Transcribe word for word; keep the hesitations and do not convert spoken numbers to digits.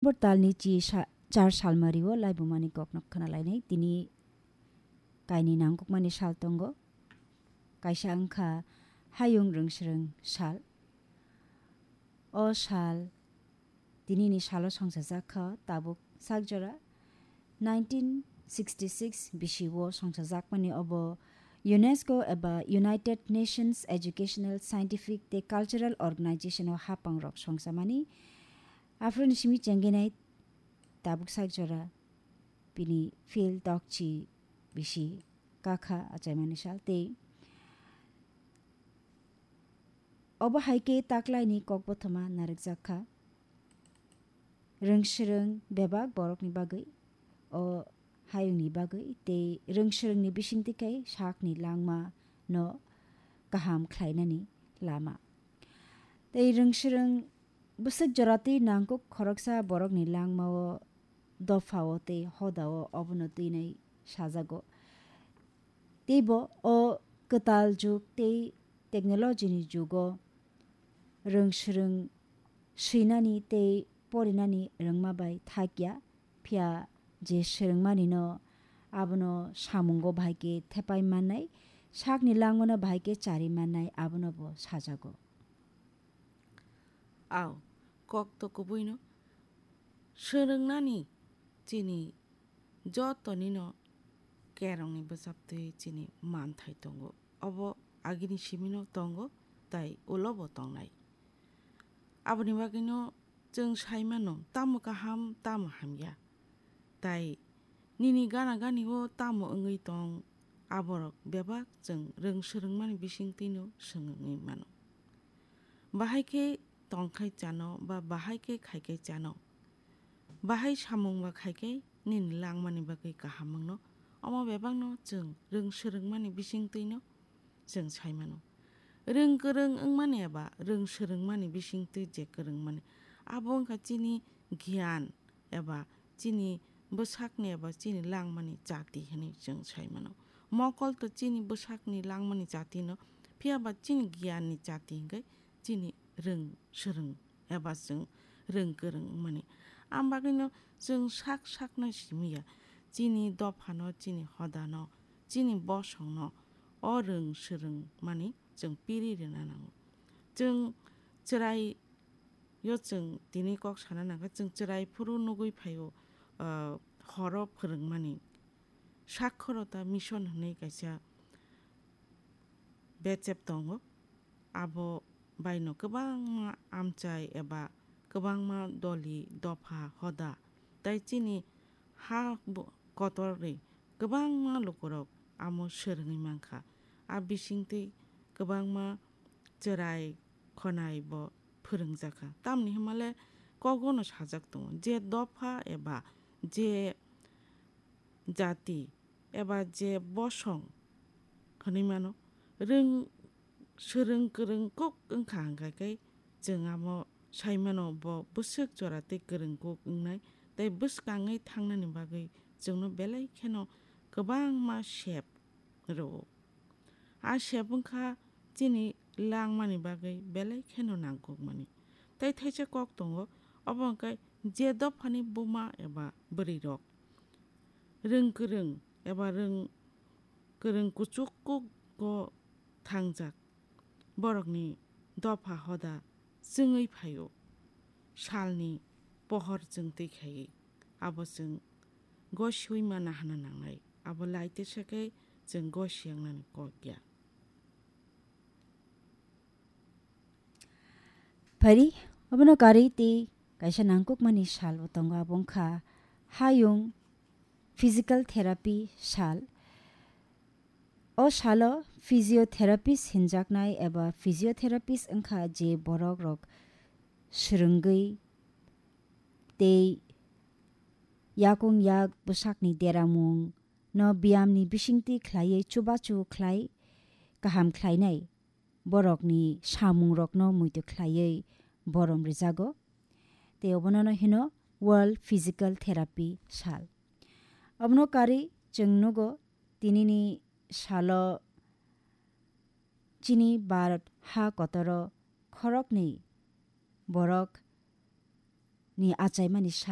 Bo talni chi sa-, char salmari o laibumani kokno khwnalainai. Tini kaini nangkukmani sal tongo. Kaisa wngkha hayung rwngsrwng sal. O sal, tinini salo songchajak kha tabuk sak jora nineteen sixty six bisi o songchajakmani obo UNESCO eba United Nations Educational, Scientific tei Cultural Organization o hapangrok songchamani. Aphuruni simi chenggenai tabuk sak jora bini phil tokchi bisi kakha achaimani sal tei obo hai khe taklaini kokbothoma narwkjak kha. Rwngsrwng bebak borokni bagwi, o hayungni bagwi tei rwngsrwngni bisingtwi khe sakni langma no kaham khlainani lama. Tei rwngsrwng bwswk jora twi nangkuk khoroksa borokni langmao, dophao tei hodao obono twinai sajago. Teibo o kwtal jug tei technology ni jugo rwngsrwng swinani tei porinani rwngma bai thakya, phiya je swrwngmani no abono samungo bahai khe thepai mannai, sakni langmano bahai khe chari mannai abono bo sajago. Ao, kok to kubuino swrwngnani chini jotonino kerongni bwchaptwi chini manthai tongo. Obo agini simino tongo, tai ulobo tongnai. Aboni bagwino chwng sai mano, tamo kaham, tamo hamya. Tai nini gana gani o tamo wngwi tong, aborok bebak chwng rwng swrwngmani bisingtwino swngwi mano. Bahai khe tongkhai chano ba bahai khe khaikhai chano, bahai samung ba khaikhai nini langmani bagwi kaham wngno, omo bebakno chwng rwng swrwngmani bisingtwino chwng sai mano. Rwng kwrwng wngmani eba rwng swrwngmani bisingtwi je kwrwngmani, abo wngkha chini giyan eba chini bwsakni eba chini langmani chati hinwi chwng sai mano. Mokol to chini bwsakni langmani chati no, phiya ba chini giyanni chati hinwi chini rwng swrwng eba chwng rwng kwrwng wngmani. Ang bagwino chwng sak sakno simi ya, chini dophano, chini hodano, chini bosongno o rwng swrwngmani chwng piri rwna nango. Chwng chwrai yo chwng tini kok sana nangkha, chwng chwrai phuru nugwi phaio, ah, horo phwrwngmani. Sakhorota mission hwnwi kaisa bechep tongo. Abo baino kwbangma amchai eba kwbangma doli, dopha, hoda tei chini ha bo-, kotorni kwbangma lukurok amo swrwngwi mankha. A bisingtwi kwbangma chwrai khonai bo phwrwngjakha. Tamni hwnmale kogono sajak tongo, je dopha eba je jati eba je bosong hwnwi mano, rwng swrwng kwrwng kuk wngkha hwnkha khe chwng amo sai mano bo bwswk jora tei kwrwng kuk wngnai tei bwskangwi thangnani bagwi chwngno belai kheno kwbangma sep rwo. A sep wngkha chini langmani bagwi belai kheno nangkukmani. Tei thaisa kok tongo, obo hwnkhe je dophani buma eba bwrwirok rwng kwrwng eba rwng kwrwng kuchuk kugo thangjak, borokni dopha hoda chwngwi phaio, salni pohor chwng twi khaiwi, abo chwng gosiui mana hwnna nangnai, abo lai tesa khe chwng gosiyangnani kok ya. Phari, obono karwi tei kaisa nangkukmani sal bo tongo, abo wngkha hayung physical therapy sal. O salo physiotherapist hinjaknai eba physiotherapist wngkha je borok rok swrwngwi tei yakung yak bwsakni deramung no biyamni bisingtwi khlaiwi chubachu khlai kaham khlainai, borokni samungrokno muitu khlaiwi borom rijago. Tei obono no hino World Physical Therapy Sal. Obono karwi chwng nugo tinini salo chini Bharat ha kotoro khoroknwi borok ni achaimani sal.